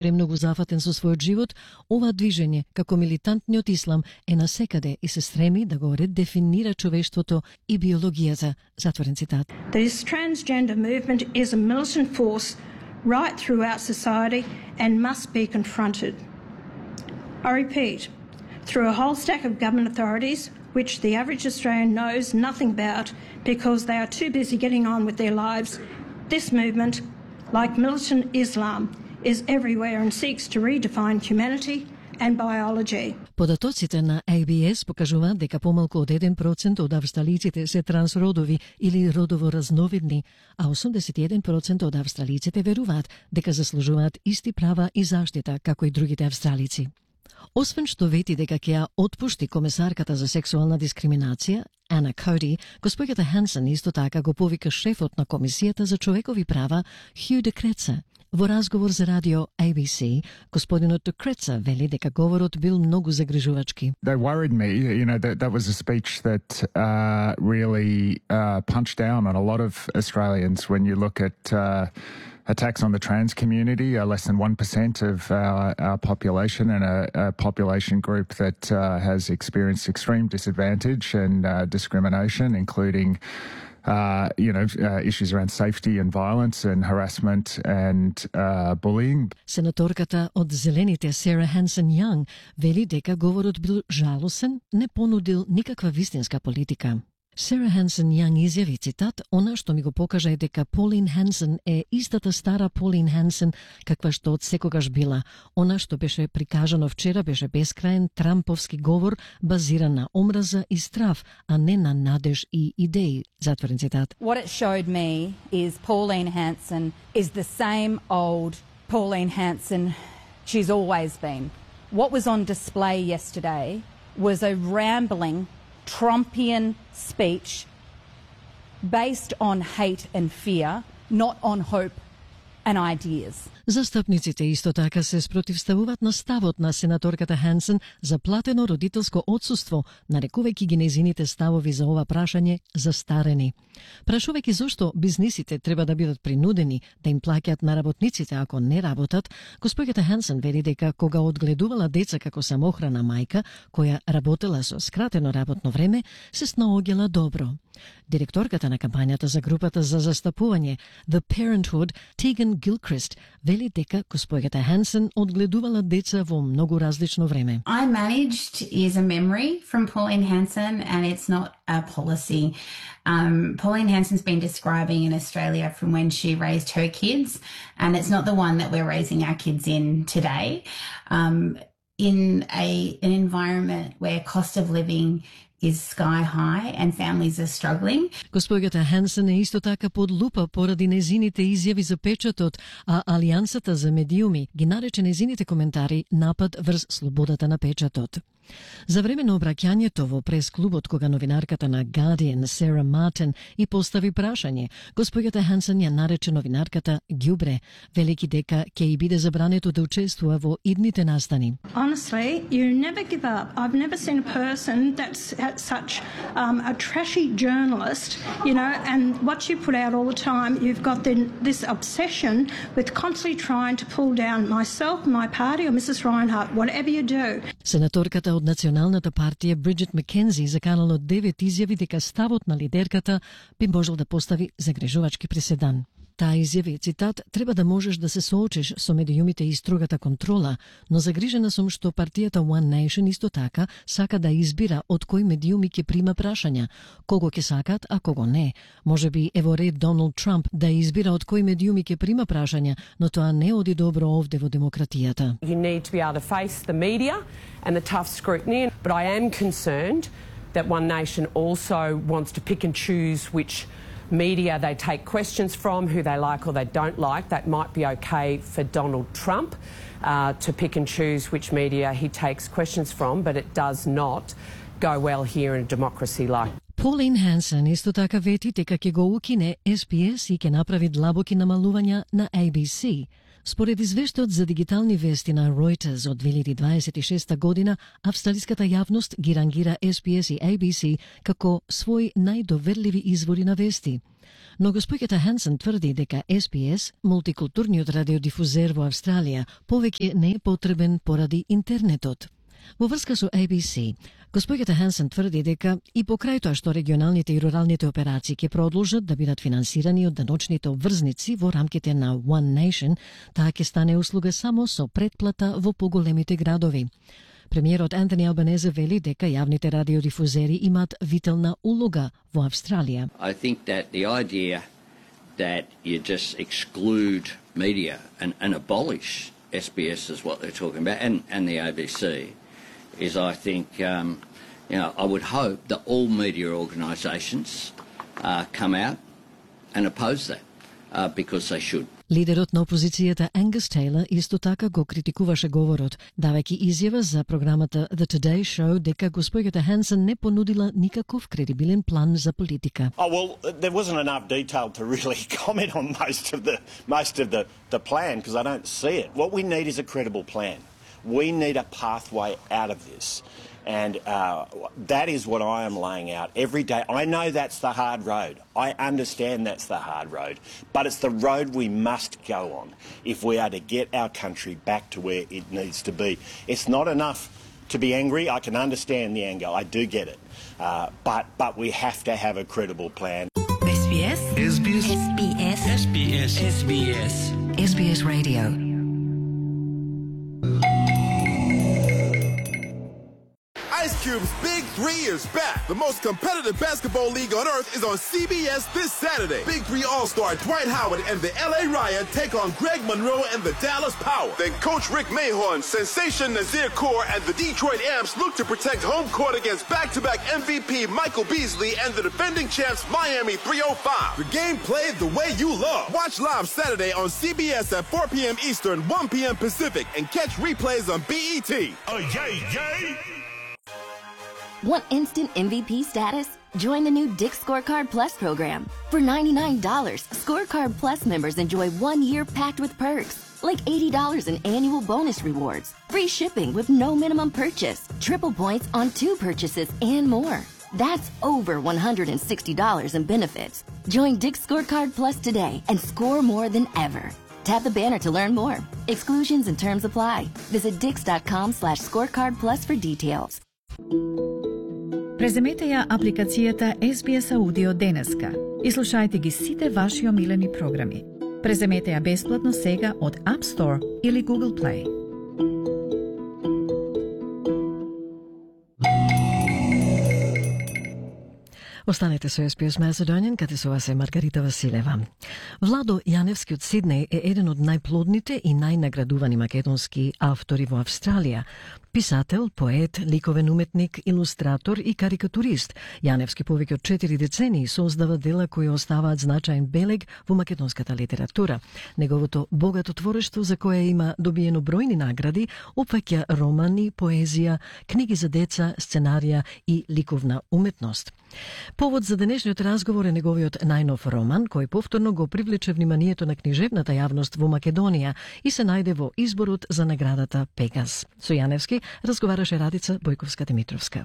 Премногу зафатен со својот живот, ова движење, како милитантниот ислам, е насекаде и се стреми да го редефинира човештвото и биологијата. Затворен цитат. This transgender movement is a militant force right throughout society and must be confronted. I repeat, through a whole stack of government authorities, which the average Australian knows nothing about because they are too busy getting on with their lives, this movement, like militant Islam, is everywhere and seeks to redefine humanity and biology. Податоците на ABS покажуваат дека помалку од 1% од австралиците се трансродови или родово разновидни, а 81% од австралиците веруваат дека заслужуваат исти права и заштита како и другите австралици. Освен што вети дека ќе ја отпушти комесарката за сексуална дискриминација, Ана Коди, госпоѓата Хансен исто така го повика шефот на Комисијата за човекови права, Хју де Креца. Во разговор за радио ABC, господинот де Креца вели дека говорот бил многу загрижувачки. They worried me, that was a speech that really punched down on a lot of Australians when you look at attacks on the trans community are less than 1% of our population, and a population group that has experienced extreme disadvantage and discrimination, including issues around safety and violence and harassment and bullying. Сенаторката од Зелените Сара Хансен Јанг вели дека говорот бил жалосен, не понудил никаква вистинска политика. Сара Хансен Јанг изјави, цитат, "Она што ми го покажа е дека Полин Хансен е истата стара Полин Хансен каква што од секогаш била. Она што беше прикажано вчера беше бескраен трамповски говор базиран на омраза и страф, а не на надеж и идеи." Затворен цитат. What it showed me is Pauline Hanson is the same old Pauline Hanson she's always been. What was on display yesterday was a rambling Trumpian speech based on hate and fear, not on hope and ideas. Застапниците исто така се спротивставуваат на ставот на сенаторката Хансен за платено родителско отсуство, нарекувајќи ги незините ставови за ова прашање застарени. Прашувајќи зошто бизнисите треба да бидат принудени да им плаќаат на работниците ако не работат, госпоѓата Хансен вели дека кога одгледувала деца како самохрана мајка, која работела со скратено работно време, се снаоѓала добро. Директорката на кампањата за групата за застапување The Parenthood, Tegan Gilchrist, вели дека госпоѓата Хансен одгледувала деца во многу различно време. I managed is a memory from Pauline Hanson, and it's not a policy. Pauline Hanson's been describing in Australia from when she raised her kids, and it's not the one that we're raising our kids in today. In an environment where cost of living is sky high and families are struggling. Госпоѓата Хансен е исто така под лупа поради незините изјави за печатот, а Алијансата за медиуми ги нарече незините коментари напад врз слободата на печатот. За време на обраќањето во прес-клубот кога новинарката на Guardian Сара Мартин и постави прашање, госпоѓата Хансен ја нарече новинарката ѓубре, велики дека ќе и биде забрането да учествува во идните настани. Honestly, you never give up. I've never seen a person that's such a trashy journalist, and what you put out all the time, you've got this obsession with constantly trying to pull down myself, my party, or Mrs. Reinhardt, whatever you do. Сенаторката од Националната партија Бриджит Маккензи заканала 9 изјави дека ставот на лидерката би можел да постави загрижувачки преседан. Таа изјави, цитат, "Треба да можеш да се соочиш со медиумите и строгата контрола, но загрижена сум што партијата One Nation исто така сака да избира од кои медиуми ќе прима прашања, кого ќе сакат, а кого не. Можеби е во ред Доналд Трамп да избира од кои медиуми ќе прима прашања, но тоа не оди добро овде во демократијата." You need to be able to face the media and the tough scrutiny, but I am concerned that One Nation also wants to pick and choose which media they take questions from, who they like or they don't like. That might be okay for Donald Trump to pick and choose which media he takes questions from, but it does not go well here in a democracy like. Pauline Hanson исто така вети дека ќе го укине SPS и ќе направи длабоки намалувања на ABC. Според извештајот за дигитални вести на Reuters од 2026 година, австралиската јавност ги рангира SPS и ABC како своји најдоверливи извори на вести. Но госпоѓата Хансен тврди дека SBS, мултикултурниот радиодифузер во Австралија, повеќе не е потребен поради интернетот. Во врска со ABC, госпоѓата Хансен тврди дека и покрај тоа што регионалните и руралните операции ќе продолжат да бидат финансирани од даночните обврзници во рамките на One Nation, таа ќе стане услуга само со претплата во поголемите градови. Премиерот Антони Албанезе вели дека јавните радиодифузери имаат вителна улога во Австралија. I think that the idea that you just exclude media and abolish SBS is what they're talking about, and the ABC, is I think, I would hope that all media organisations come out and oppose that, because they should. Лидерот на опозицијата Ангус Тейлор исто така го критикуваше говорот, давајќи изјава за програмата The Today Show дека госпоѓата Хансен не понудила никаков кредибилен план за политика. Oh well, there wasn't enough detail to really comment on most of the plan because I don't see it. What we need is a credible plan. We need a pathway out of this. And that is what I am laying out every day. I know that's the hard road. I understand that's the hard road. But it's the road we must go on if we are to get our country back to where it needs to be. It's not enough to be angry. I can understand the anger. I do get it. But we have to have a credible plan. SBS. SBS. SBS. SBS. SBS. SBS Radio. Ice Cube's Big 3 is back. The most competitive basketball league on earth is on CBS this Saturday. Big 3 All-Star Dwight Howard and the LA Riot take on Greg Monroe and the Dallas Power. Then Coach Rick Mahorn, Sensation Nazir Kaur, and the Detroit Amps look to protect home court against back-to-back MVP Michael Beasley and the defending champs Miami 305. The game played the way you love. Watch live Saturday on CBS at 4 p.m. Eastern, 1 p.m. Pacific, and catch replays on BET. Oh, yay, yay! Want instant MVP status? Join the new Dick's Scorecard Plus program. For $99, Scorecard Plus members enjoy 1 year packed with perks, like $80 in annual bonus rewards, free shipping with no minimum purchase, triple points on 2 purchases, and more. That's over $160 in benefits. Join Dick's Scorecard Plus today and score more than ever. Tap the banner to learn more. Exclusions and terms apply. Visit dix.com/scorecardplus for details. Преземете ја апликацијата SBS Audio денеска и слушајте ги сите ваши омилени програми. Преземете ја бесплатно сега од App Store или Google Play. Останете со SBS Macedonian, каде со вас е Маргарита Василева. Владо Јаневски од Сиднеј е еден од најплодните и најнаградувани македонски автори во Австралија. Писател, поет, ликовен уметник, илустратор и карикатурист, Јаневски повеќе од 4 децении создава дела кои оставаат значаен белег во македонската литература. Неговото богато творештво, за кое има добиено бројни награди, опфаќа романи, поезија, книги за деца, сценарија и ликовна уметност. Повод за денешниот разговор е неговиот најнов роман, кој повторно го привлече вниманието на книжевната јавност во Македонија и се најде во изборот за наградата Пегас. Со Јаневски разговараше Радица Бојковска-Димитровска.